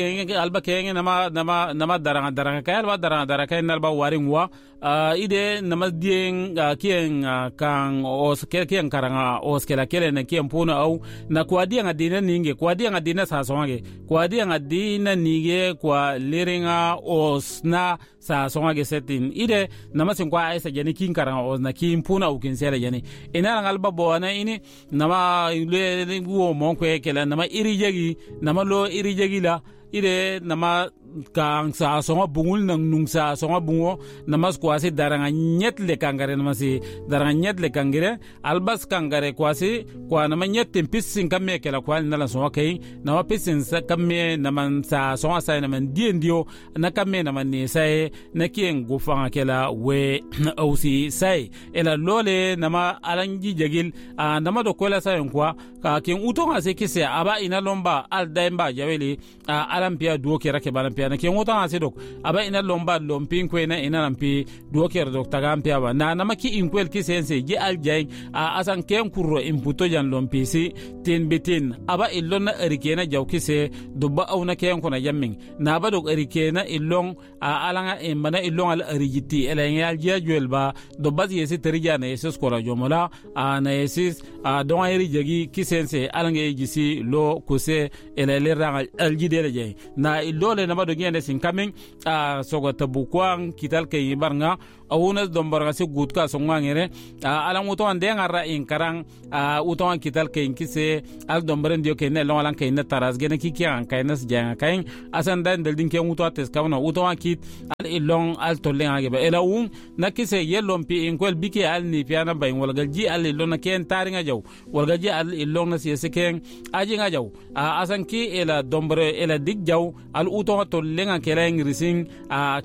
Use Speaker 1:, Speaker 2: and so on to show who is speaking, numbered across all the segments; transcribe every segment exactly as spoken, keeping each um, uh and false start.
Speaker 1: Alba kenge nama nama nama daranga daranga kay alba daranga daranga kay nalba waring wa uh, ide nama dieng uh, kieng uh, kang os ke kieng karanga os kela kele na kieng puna au na kwa dianga dina ninge kwa dianga dina sa songe kwa dianga dina ninge kwa liringa os na sa songe setin ide nama sin kwa aisa jani kin karanga os na kin puna au kin sele jani ina alba bona ini nama le wo mon kwe kela nama iri jegi nama lo iri jegi la ide nama kang sa songa bungul nang nung sa songa bungo namas kwasi daranga nyet le kangare namasi daranga nyet le kangare albas kangare kwasi kwa nama nyet pisin kamme kela kwa nala songa kai nama pisin sa kamme nama sa songa sa nama diendio na kamme nama ne sai na kien gufanga kela we ausi sai ela lole nama alangi jagil nama do kola sai kwa ka ken utonga se kise aba ina lomba al daimba jaweli alampia duo kera ke balam pia na ken utonga se dok aba ina lomba lompin ko ina ina lampi duo kera dok tagam pia ba na nama ki inkwel ki sense ji al jay a asan ken kurro imputo jan lompi si tin bitin aba illon na erikena jaw kise dobba awna ken kona jammin na ba dok erikena illon a alanga e mana illon al erijiti ela yal jajwel ba dobba yesi terija na yesus kora jomola a na yesis a don eri jagi kisense alanga jisi lo kuse ela le al jidele jay na illole nama do ngene sin kamin a sogo tabukwang kital ke barnga awuna dombarga se gutka songa ngere alang uto ande ngara in karang uto an kital ke inkise al dombaren dio ke ne long alang ke ne taras gene ki ki an kay nas janga kay asan dan del din ke uto ates kawna uto an kit al ilong al tolle ngage ba ela un na kise yelom pi in kwel bike al ni piana bay wala gal ji al ilong na ken taringa jaw wala ji al ilong na siese ken aji nga jaw asan ki ela dombre ela dig jaw al uto tolle nga kela ngrising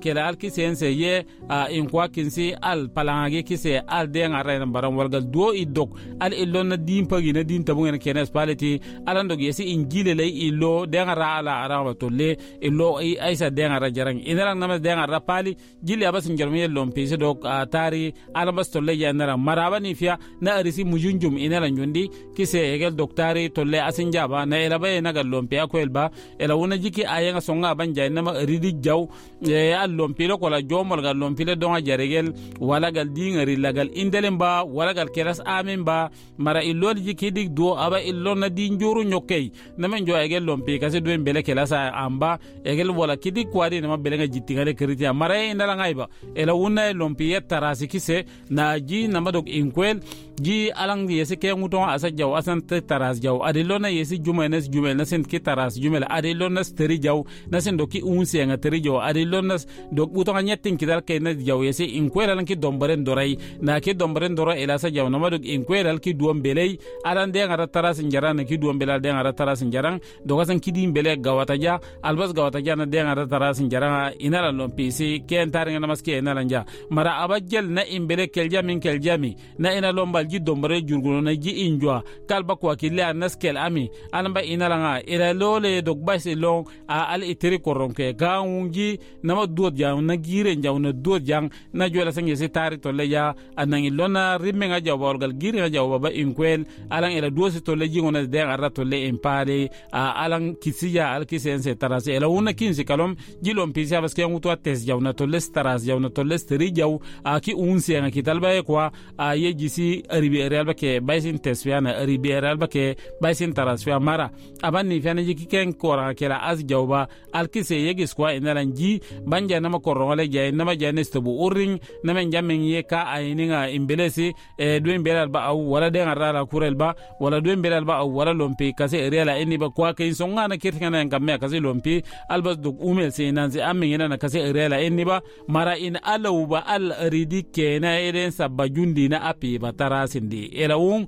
Speaker 1: kela al kisense ye in kwa kinsi al palangage kise al de ngara na baram walgal duo idok al illo na din pagi na din tabu ngene kenes paleti alan dog yesi injile lay illo de ngara ala ara tolle illo ay aisa de ngara jarang inaran na de ngara pali jili abas njarmi yellon pisi dok tari ala bas tolle ya nara maraba ni fiya na arisi mujunjum inaran jundi kise egel doktari tolle asin jaba na ela bay na gallon piya ko elba ela wona jiki ayenga songa banja na ma ridi jaw e al lompilo kola jomol gal lompile donga jaregel wala gal dingari lagal indelen ba wala gal keras amin ba mara illol jiki dik do aba illol na din juru nyokkey na men jo egel lompi kasi doen bele kelasa amba egel wala kidik kwadi na ma bele nga jittingale kritia mara indala ngaiba ela wuna lompi ya tarasi kise na ji na madok inkwel ji alang yesi ke nguton asa jaw asan te taras jaw adilona yesi juma nes juma na sen ki taras juma adilona steri jaw na sen doki unse nga teri jaw adilona dok uton nyetin kidal ke na jaw yesi inkwel alang ki dombaren dorai na ki dombaren dora ela sa jaw na madok inkwel al ki duom belei alan de ngara taras njaran ki duom belal de ngara taras njaran dogasan ki dim bele gawata ja albas gawata ja na de ngara taras njaran inala lompisi ken taringa na maske inala nja mara abajel na imbele kelja min keljami na ina lombal ji dombare jurguno na ji injwa kalba kwa kile anas kel ami alamba inala nga ila lole dok basi long a al itiri koronke gaungi nama duot jang na gire jaw na duot jang na jola sange se tari tolle ya anang ilona rimme nga jaw bolgal gire nga jaw baba inkwel alang ila duosi tolle jingo na de arra tolle impale a alang kisiya al kisense tarase ila una kinsi kalom jilom pisi abaske ngutu ates jaw na tolle taras jaw na tolle steri jaw a ki unse nga kitalba kwa a ye jisi ribi real ke baisin tesfia na ribi real ke baisin tarasfia mara abani fiana jiki ken kora kela az jawba alkise yegis kwa inalan ji banja nama korongale jay nama jay nestobu uring nama jamen ye ka aininga imbelesi e duen belal ba aw wala de ngara kurel ba wala duen belal ba aw wala lompi kase reala inni ba kwa ke songa na kirtinga na ngamme kase lompi albas duk umel se nanzi amin ina na kase reala inni ba mara in alaw ba al ridi kena eden sabba jundi na api ba tarasindi ela wung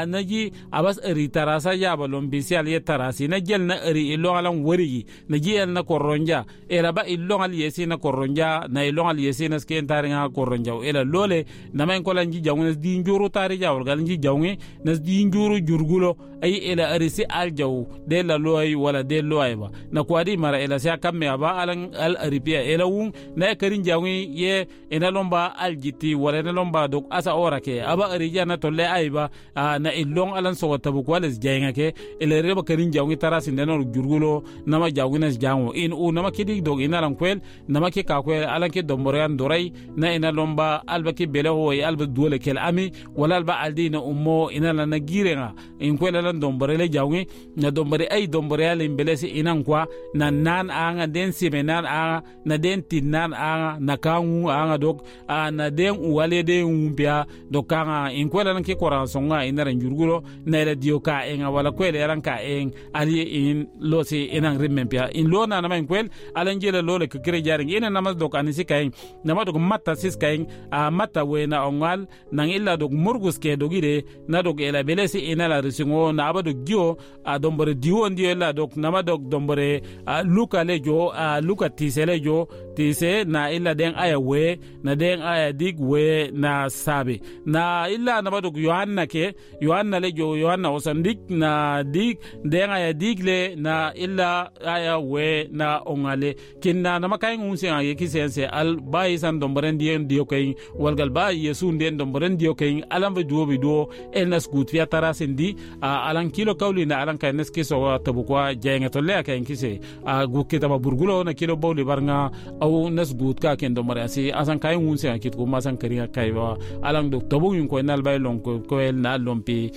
Speaker 1: naji abas ri tarasa ya ba lompi si al ye tarasi na jel na ri ilo alan wari na ji el na korro korronja ela ba ilong al yesi na korronja na ilong al yesi na sken taringa korronja ela lole na men kola nji jawne di njuru tari jawol gal nji jawne na di njuru jurgulo ay ela arisi al jaw de la loy wala de loy ba na kwadi mara ela sia kamme aba alan al aripia ela wun na karin jawni ye ena lomba al jiti wala ena lomba dok asa ora ke aba arija na tolle ayba na ilong alan so tabu kwales jaynga ke ela reba karin jawni tarasi ndeno jurgulo nama jawni nas jango in u nama kidi dog ina lan kwel nama ke ka kwel alan ke domborean dorai na ina lomba alba ke bele ho alba duole kel ami wala alba aldina ummo ina lan na girenga in kwel alan dombore le jawni na dombore ay dombore ale belesi inan kwa na nan anga den sime nan anga na den tin nan anga na kangu anga dok na den uwale den umpia dok kanga in kwel alan ke koran songa ina ran jurgulo na ila dio ka enga wala kwel eran ka eng ali in losi inan rimmen pia in lo na nama in kwel alan jela lole ke kire jaring ina nama dok anisi kain nama dok matta sis kain a matta we na ongal nang illa dok murgus ke dogire na dok ela belesi ina la risingo na aba dok gio a dombore diwo ndio illa dok nama dok dombore luka le jo a luka tise le jo tise na illa den aya we na den aya dig we na sabe na illa nama dok yohanna ke yohanna le jo yohanna osandik na dig den aya dig le na illa aya we na ongale kinna nama kay ngun sen ye kisen se al bayi san dombaren dien dio kay walgal ba yesu ndien dombaren dio kay alan be duo bi duo el nas gut fiya tarasin di alan kilo kawli na alan kay nes kiso tabu kwa jaynga tolle kay kise a gukki taba burgulo na kilo bawli barnga aw nas gut ka ken dombare asi asan kay ngun sen kit ko masan kariya kay wa alan do tabu yun ko nal bay lon ko ko el na lompi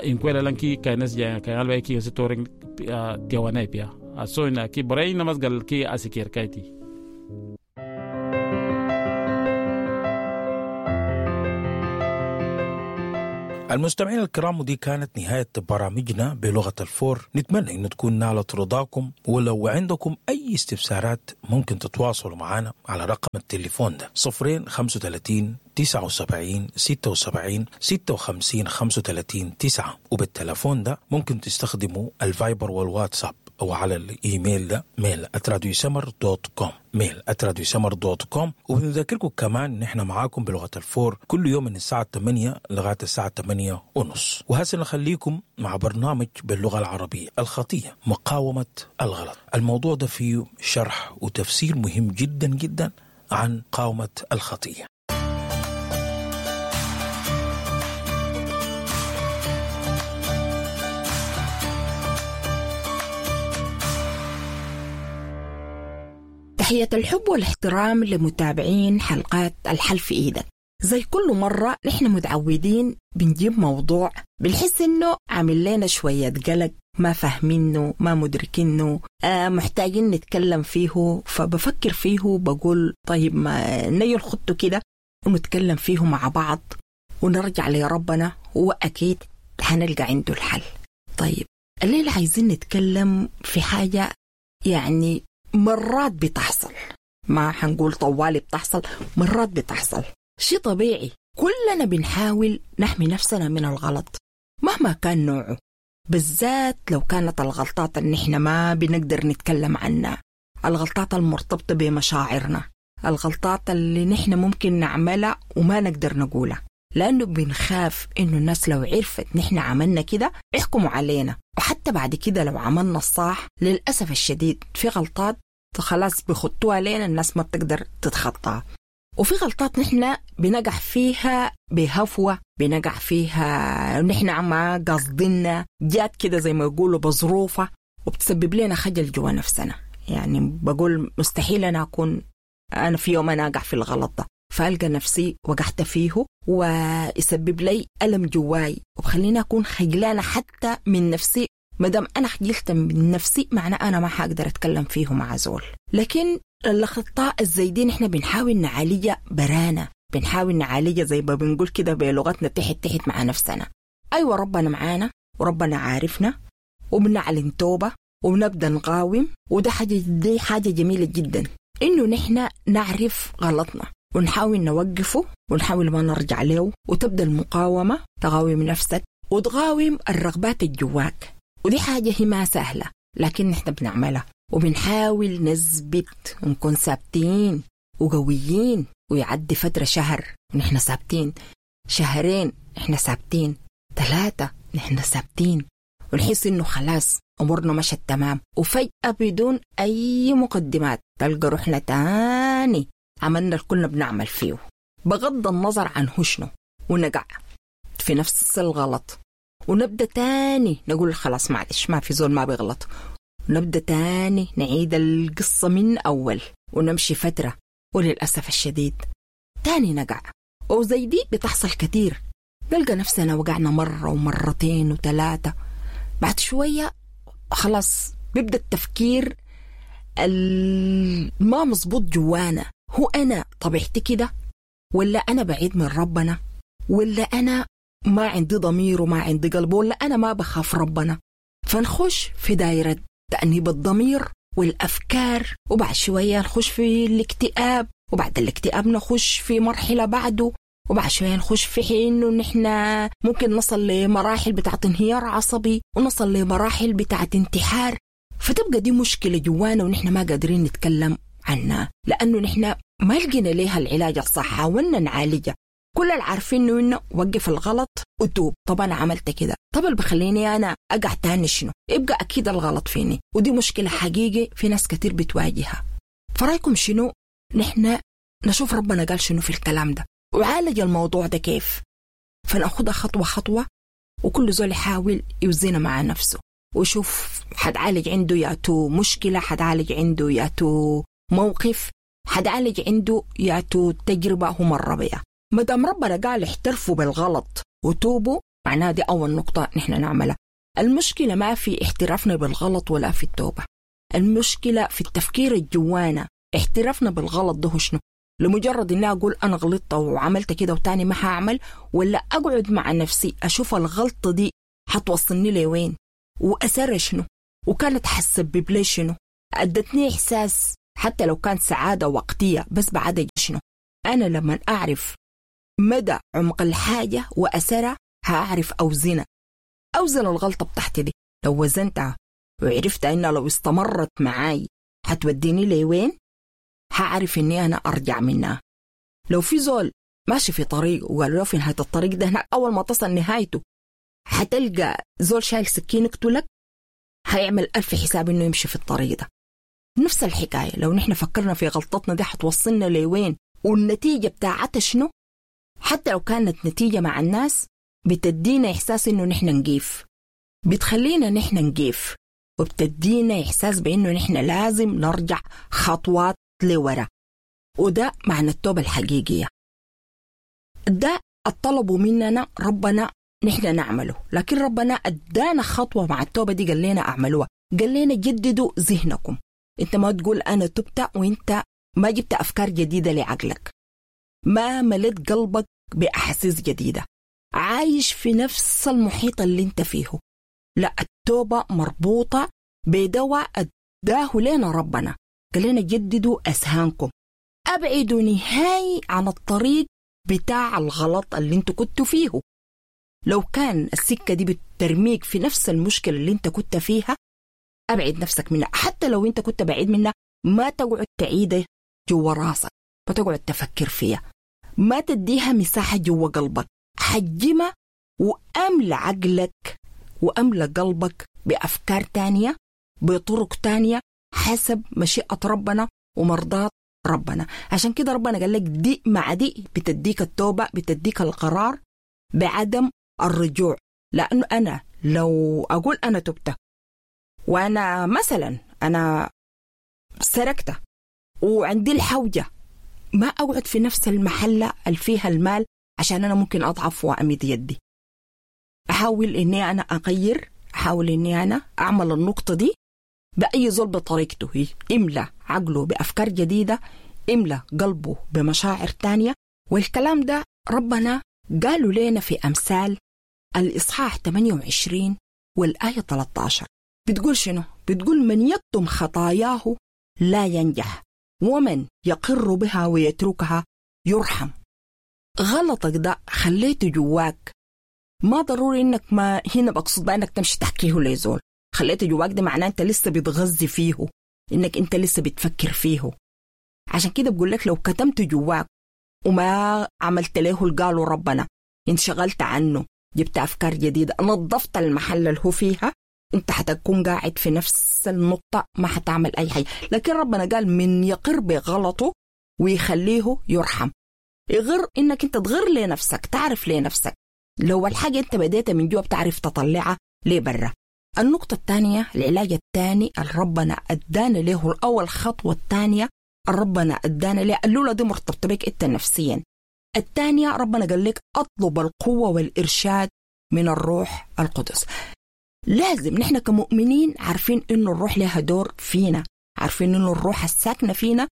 Speaker 1: in ko alan ki kay nas jaynga kay al bay ki se toring tiawana pia asoina ki boray namasgal ki asikir kayti.
Speaker 2: المستمعين الكرام، ودي كانت نهاية برامجنا بلغة الفور. نتمنى أن تكون نالت رضاكم، ولو عندكم أي استفسارات ممكن تتواصلوا معنا على رقم التليفون ده صفرين خمسة وثلاثين تسعة وسبعين ستة وسبعين ستة وخمسين خمسة وثلاثين تسعة. وبالتلفون ده ممكن تستخدموا الفايبر والواتساب أو على الإيميل ده mail at راديو سمر dot com، mail at راديو سمر dot com. وبنذكركم كمان نحن معاكم بلغة الفور كل يوم من الساعة ثمانية لغاية الساعة ثمانية ونص. وهسه نخليكم مع برنامج باللغة العربية، الخطية مقاومة الغلط. الموضوع ده فيه شرح وتفسير مهم جدا جدا عن قاومة الخطية.
Speaker 3: تحية الحب والاحترام لمتابعين حلقات الحل في إيدك. زي كل مرة نحن متعودين بنجيب موضوع بنحس إنه عامل لنا شوية قلق، ما فاهمينه، ما مدركينه، آه محتاجين نتكلم فيه. فبفكر فيه بقول طيب ما نيل خطه كده ونتكلم فيه مع بعض ونرجع لربنا، وأكيد هنلقى عنده الحل. طيب الليلة عايزين نتكلم في حاجة يعني مرات بتحصل، ما حنقول طوالي بتحصل، مرات بتحصل، شيء طبيعي. كلنا بنحاول نحمي نفسنا من الغلط مهما كان نوعه، بالذات لو كانت الغلطات اللي نحن ما بنقدر نتكلم عنها، الغلطات المرتبطة بمشاعرنا، الغلطات اللي نحن ممكن نعملها وما نقدر نقولها، لأنه بنخاف إنه الناس لو عرفت نحن عملنا كده يحكموا علينا. وحتى بعد كده لو عملنا الصح للأسف الشديد في غلطات خلاص بيخطوها لنا الناس ما بتقدر تتخطاها، وفي غلطات نحن بنقع فيها بهفوة، بنقع فيها نحن ما قصدنا، جات كده زي ما يقولوا بظروفها، وبتسبب لنا خجل جوا نفسنا. يعني بقول مستحيل أنا أكون أنا في يوم أنا أقع في الغلط ده، فألقى نفسي وقعت فيه ويسبب لي ألم جواي وبخليني أكون خجلانة حتى من نفسي. مدام أنا خجلت من نفسي معناه أنا ما حقدر أتكلم فيه مع زول. لكن الأخطاء الزايدين إحنا بنحاول نعالجها برانا، بنحاول نعالجها زي ما بنقول كده بلغتنا تحت تحت مع نفسنا. أيوة ربنا معانا وربنا عارفنا وبنعلن توبة وبنبدأ نقاوم، وده حاجة دي حاجة جميلة جدا إنه نحن نعرف غلطنا ونحاول نوقفه ونحاول ما نرجع له، وتبدأ المقاومة، تقاوم نفسك وتقاوم الرغبات الجواك. ودي حاجة هي ما سهلة لكن نحن بنعملها. وبنحاول نثبت ونكون ثابتين وقويين، ويعدي فترة شهر ونحن ثابتين، شهرين نحن ثابتين، ثلاثة نحن ثابتين، ونحس إنه خلاص أمورنا مشت تمام، وفجأة بدون أي مقدمات تلقى روحنا تاني عملنا اللي كنا بنعمل فيه بغض النظر عن هو شنو، ونقع في نفس الغلط، ونبدأ تاني نقول خلاص معلش ما في زول ما بيغلط، ونبدأ تاني نعيد القصة من أول ونمشي فترة، وللأسف الشديد تاني نقع. وزي دي بتحصل كتير، نلقى نفسنا وقعنا مرة ومرتين وثلاثة، بعد شوية خلاص بيبدأ التفكير ما مظبوط جوانا، هو أنا طبيعتي كده، ولا أنا بعيد من ربنا، ولا أنا ما عندي ضمير وما عندي قلب، ولا أنا ما بخاف ربنا. فنخش في دائرة تأنيب الضمير والأفكار، وبعد شوية نخش في الاكتئاب، وبعد الاكتئاب نخش في مرحلة بعده، وبعد شوية نخش في حين إنه نحن ممكن نصل لمراحل بتاعت انهيار عصبي، ونصل لمراحل بتاعت انتحار. فتبقى دي مشكلة جوانا ونحن ما قادرين نتكلم عنها، لأنه نحن ما لقينا ليها العلاج الصح، حاولنا نعالجها، كل اللي عارفين إنه وقف الغلط وتوب. طب أنا عملت كده، طب اللي بخليني أنا أقع تاني شنو؟ يبقى أكيد الغلط فيني. ودي مشكلة حقيقي في ناس كتير بتواجهها. فرأيكم شنو؟ نحن نشوف ربنا قال شنو في الكلام ده وعالج الموضوع ده كيف، فنأخذها خطوة خطوة، وكل زول يحاول يوزنها مع نفسه ويشوف حتعالج عنده ياتو مشكلة، حتعالج عنده ياتو موقف، حتعالج عنده ياتو تجربة هو مر بها. مدام ربنا قال احترفوا بالغلط وتوبوا، معناها دي أول نقطة نحن نعملها. المشكلة ما في احترافنا بالغلط ولا في التوبة، المشكلة في التفكير الجوانا. احترافنا بالغلط ده شنو؟ لمجرد إني أقول أنا غلطت وعملت كده وتاني ما هعمل، ولا أقعد مع نفسي أشوف الغلطة دي حتوصلني لوين وأثرها شنو وكانت حتسبب لي شنو، أدتني إحساس حتى لو كان سعادة وقتية بس بعدها شنو. أنا لما أعرف مدى عمق الحاجة وأثرها هأعرف أوزنها، أوزن الغلطة بتاعتي دي. لو وزنتها وعرفت إنها لو استمرت معاي حتوديني لوين، هعرف إني أنا أرجع منها. لو في زول ماشي في طريق وقالوا له في نهاية الطريق ده هناك أول ما تصل نهايته حتلقى زول شايل سكين يقتلك، هيعمل ألف حساب إنه يمشي في الطريق ده. نفس الحكاية لو نحن فكرنا في غلطتنا دي حتوصلنا لوين والنتيجة بتاعتها شنو، حتى لو كانت نتيجة مع الناس بتدينا إحساس إنه نحن نقيف، بتخلينا نحن نقيف، وبتدينا إحساس بإنه نحن لازم نرجع خطوات لورا. وده معنى التوبة الحقيقية. ده الطلب مننا ربنا نحن نعمله، لكن ربنا أدانا خطوة مع التوبة دي، قال لنا أعملوها، قال لنا جددوا ذهنكم. أنت ما تقول أنا تبت وأنت ما جبت أفكار جديدة لعقلك، ما مليت قلبك بأحاسيس جديدة، عايش في نفس المحيط اللي انت فيه. لا، التوبة مربوطة بدواء أداه لنا ربنا، قال لنا جددوا أذهانكم، أبعدوا نهائي عن الطريق بتاع الغلط اللي انتوا كنتوا فيه. لو كان السكة دي بترميك في نفس المشكلة اللي انت كنت فيها، أبعد نفسك منها. حتى لو انت كنت بعيد منها ما تقعد تعيده جوا راسك، ما تقعد تفكر فيها، ما تديها مساحة جوا قلبك، حجمها وأملى عقلك وأملى قلبك بأفكار تانية، بطرق تانية، حسب مشيئة ربنا ومرضات ربنا. عشان كده ربنا قال لك دي مع دي بتديك التوبة، بتديك القرار بعدم الرجوع. لأنه أنا لو أقول أنا تبت وأنا مثلا أنا سرقت وعندي الحوجة، ما أقعد في نفس المحلة اللي فيها المال عشان أنا ممكن أضعف وأمد يدي. أحاول إني أنا أغير، أحاول إني أنا أعمل النقطة دي بأي زول بطريقته، هي إملى عقله بأفكار جديدة، إملى قلبه بمشاعر تانية. والكلام ده ربنا قالوا لنا في أمثال الإصحاح ثمانية وعشرين والآية ثلاثة عشر. بتقول شنو؟ بتقول من يكتم خطاياه لا ينجح، ومن يقر بها ويتركها يرحم. غلطك ده خليته جواك، ما ضروري انك ما هنا بقصد بقى انك تمشي تحكيه لزول، خليته جواك ده معناه انت لسه بتغذي فيه، إنك أنت لسه بتفكر فيه. عشان كده بقول لك لو كتمت جواك وما عملت له القالوا ربنا، انشغلت عنه، جبت أفكار جديدة، نظفت المحل اللي هو فيها، انت حتكون قاعد في نفس النقطة، ما حتعمل أي حاجة. لكن ربنا قال من يقر بغلطه ويخليه يرحم. يغر إنك انت تغر لنفسك، تعرف لنفسك لو الحاجة انت بديتها من جوا بتعرف تطلعها لبرا. النقطة الثانية، العلاج الثاني ربنا أدانا له، الأول خطوة الثانية ربنا أدانا له، الأولى دي مرتبطة بك انت نفسيا. الثانية ربنا قال لك أطلب القوة والإرشاد من الروح القدس. لازم نحن كمؤمنين عارفين إنه الروح لها دور فينا، عارفين إنه الروح الساكنة فينا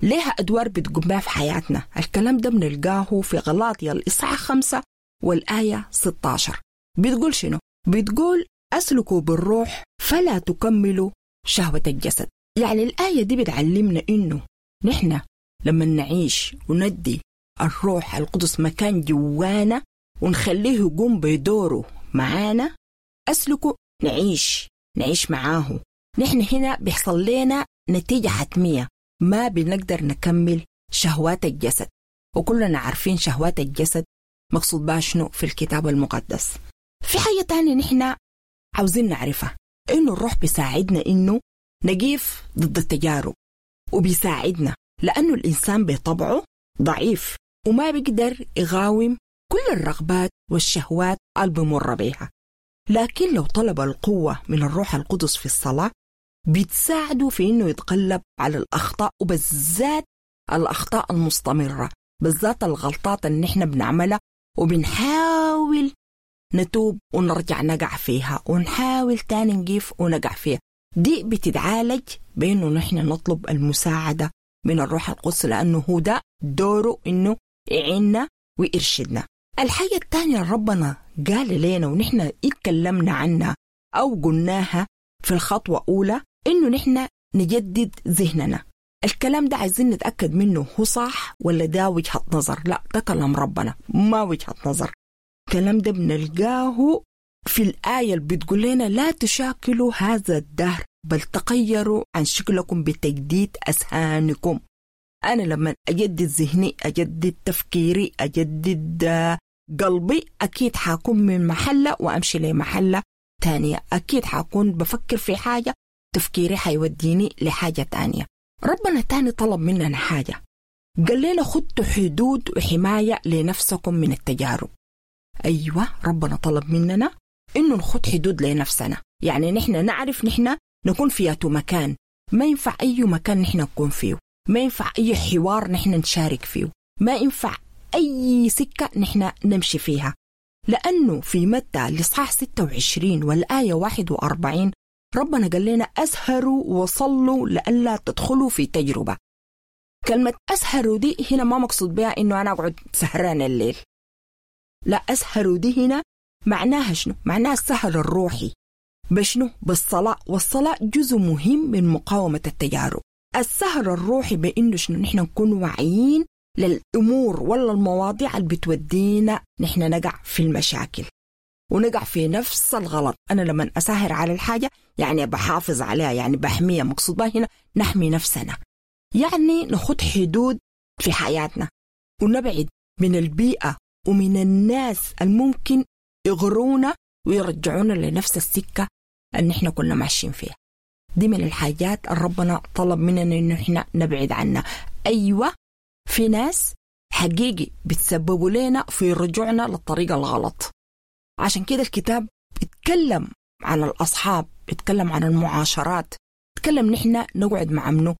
Speaker 3: لها أدوار بتقوم بها في حياتنا. الكلام ده بنلقاه في غلاطيا الإصحاح خمسة والآية ستة عشر. بتقول شنو؟ بتقول أسلكوا بالروح فلا تكملوا شهوة الجسد. يعني الآية دي بتعلمنا إنه نحن لما نعيش وندي الروح القدس مكان جوانا ونخليه يقوم بدوره معانا، أسلكوا نعيش نعيش معاه. نحن هنا بيحصل لنا نتيجة حتمية، ما بنقدر نكمل شهوات الجسد. وكلنا عارفين شهوات الجسد مقصود بها شنو في الكتاب المقدس. في حاجة تانية نحن عاوزين نعرفها، إنه الروح بيساعدنا إنه نقيف ضد التجارب، وبيساعدنا لأنه الإنسان بطبعه ضعيف وما بيقدر يقاوم كل الرغبات والشهوات اللي بمر بيها. لكن لو طلب القوة من الروح القدس في الصلاة بتساعده في إنه يتغلب على الأخطاء، وبالذات الأخطاء المستمرة، بالذات الغلطات اللي نحن بنعملها وبنحاول نتوب ونرجع نقع فيها، ونحاول تاني نقيف ونقع فيها. دي بتتعالج بإنه نحن نطلب المساعدة من الروح القدس، لأنه هو ده دوره إنه يعيننا ويرشدنا. الحاجة الثانية ربنا قال لنا ونحن اتكلمنا عنها أو قلناها في الخطوة الأولى، إنه نحن نجدد ذهننا. الكلام ده عايزين نتأكد منه هو صح ولا ده وجهة نظر. لا، ده كلام ربنا ما وجهة نظر. الكلام ده بنلقاه في الآية اللي بتقول لنا لا تشاكلوا هذا الدهر بل تغيروا عن شكلكم بتجديد أذهانكم. أنا لما أجدد ذهني، أجدد تفكيري، أجدد قلبي، أكيد حاكون من محلة وأمشي لمحلة تانية. أكيد حاكون بفكر في حاجة، تفكيري حيوديني لحاجة تانية. ربنا تاني طلب مننا حاجة، قال لنا خدوا حدود وحماية لنفسكم من التجارب. أيوة، ربنا طلب مننا إنه نخد حدود لنفسنا، يعني نحن نعرف نحن نكون في مكان، ما ينفع أي مكان نحن نكون فيه، ما ينفع أي حوار نحن نشارك فيه، ما ينفع أي سكة نحن نمشي فيها. لأنه في متى الإصحاح ستة وعشرين والآية واحد وأربعين ربنا قال لنا أسهروا وصلوا لألا تدخلوا في تجربة. كلمة أسهروا دي هنا ما مقصود بها إنه أنا أقعد سهران الليل، لا، أسهروا دي هنا معناها شنو؟ معناها السهر الروحي. بشنو؟ بالصلاة، والصلاة جزء مهم من مقاومة التجارب. السهر الروحي بإنه شنو؟ نحن نكون واعيين للأمور ولا المواضيع اللي بتودينا نحن نقع في المشاكل ونقع في نفس الغلط. أنا لما أسهر على الحاجة يعني بحافظ عليها، يعني بحميها. مقصود بها هنا نحمي نفسنا، يعني نخد حدود في حياتنا ونبعد من البيئة ومن الناس الممكن يغرونا ويرجعونا لنفس السكة اللي احنا كنا ماشيين فيها. دي من الحاجات اللي ربنا طلب مننا إنه احنا نبعد عنها. أيوة، في ناس حقيقي بتسببوا لنا في رجوعنا للطريقة الغلط. عشان كده الكتاب اتكلم عن الأصحاب، اتكلم عن المعاشرات، اتكلم نحن نقعد مع منو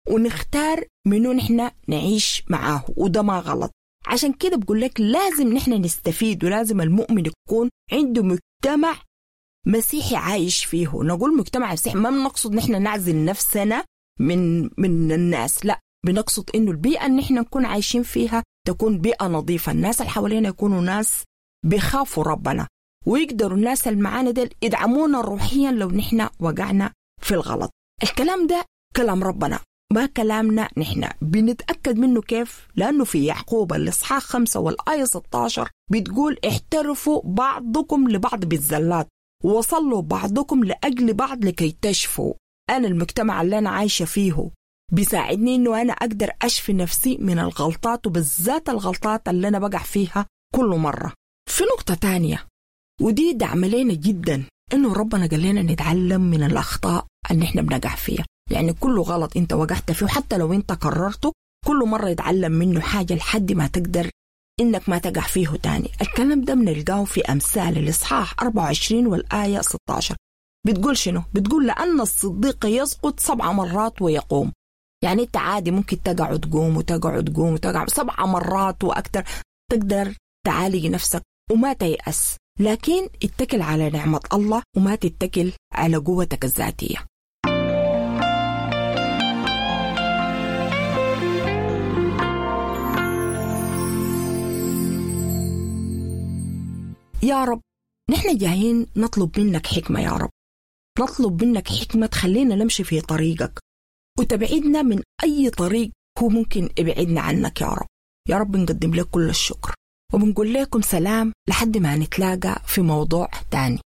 Speaker 3: ونختار منو نحن نعيش معاه، وده ما غلط. عشان كده بقول لك لازم نحن نستفيد، ولازم المؤمن يكون عنده مجتمع مسيحي عايش فيه. نقول مجتمع مسيحي ما بنقصد نحن نعزل نفسنا من من الناس، لا، بنقصد إنه البيئة اللي نحن نكون عايشين فيها تكون بيئة نظيفة، الناس اللي حوالينا يكونوا ناس بيخافوا ربنا، ويقدروا الناس اللي معانا ديل يدعمونا روحيا لو نحن وقعنا في الغلط. الكلام ده كلام ربنا ما كلامنا نحن. بنتأكد منه كيف؟ لأنه في يعقوب الإصحاح خمسة والآية ستة عشر بتقول احترفوا بعضكم لبعض بالزلات وصلوا بعضكم لأجل بعض لكي تشفوا. أنا المجتمع اللي أنا عايشة فيه بيساعدني إنه أنا أقدر أشفي نفسي من الغلطات، وبالذات الغلطات اللي أنا بقع فيها كل مرة. في نقطة تانية ودي دعم لنا جدا، إنه ربنا قال لنا نتعلم من الأخطاء اللي إحنا بنقع فيها. يعني كل غلط أنت وقعت فيه حتى لو أنت كررته كل مرة يتعلم منه حاجة لحد ما تقدر إنك ما تقع فيه تاني. الكلام ده بنلقاه في أمثال الإصحاح أربعة وعشرين والآية ستة عشر. بتقول شنو؟ بتقول لأن الصديق يسقط سبع مرات ويقوم. يعني أنت عادي ممكن تقع وتقوم وتقع وتقوم وتقع سبع مرات وأكثر، تقدر تعالج نفسك وما تيأس، لكن اتكل على نعمة الله وما تتكل على قوتك الذاتية. يا رب نحن جايين نطلب منك حكمة، يا رب نطلب منك حكمة تخلينا نمشي في طريقك وتبعدنا من أي طريق هو ممكن يبعدنا عنك. يا رب يا رب نقدم لك كل الشكر وبنقول لكم سلام لحد ما نتلاقى في موضوع تاني.